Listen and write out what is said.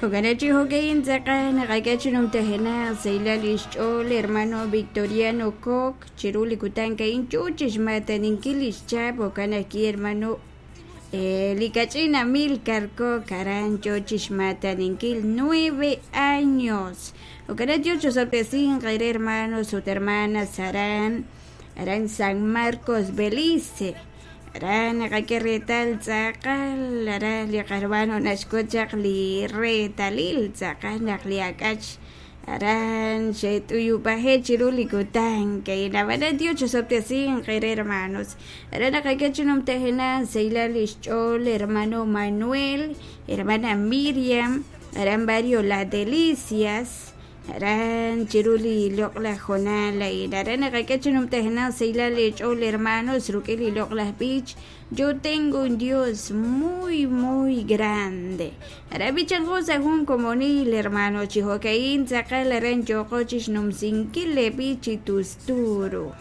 Jo'kan chi jo'ka'in tz'aqal naqak'e chi numtajenaq sahilal lix ch'ool hermano Victoriano Koch chiru li kutan a'in yoo chixmaataninkil lix chahab' jo'kan ajwi' hermano li kach'in Amilcar Koch aran yoo chixmaataninkil 9 años. Jo'kan Dios chosob'tesinq eere hermanos ut hermanas aran aran San Marcos Belice. Aran naqak'e reetal tz'aqal aran li qarmano naxk'ut chaq li reetalil tz'aqal naq li ak'ach aran xe't'uyub'aje' chiru li kutan ka'in ab'anan Dios chosob'tesinq eere hermanos. Aran naqak'e chi numtajenaq sahilal lix ch'ool hermano Manuel, hermana Miriam, aran barrio La Delicias, aran chiru li loq'laj jonal a'in. Aran naqak'e chi numtajenaq sahilal eech'ool hermanos rik'in li loq'laj b'ich Yo tengo un Dios muy muy grande. Aran b'ichanqo sa' jun komonil hermano chi jo'ka'in tz'aqal aran yooqo chixnumsinkil le b'ich chi tusturu.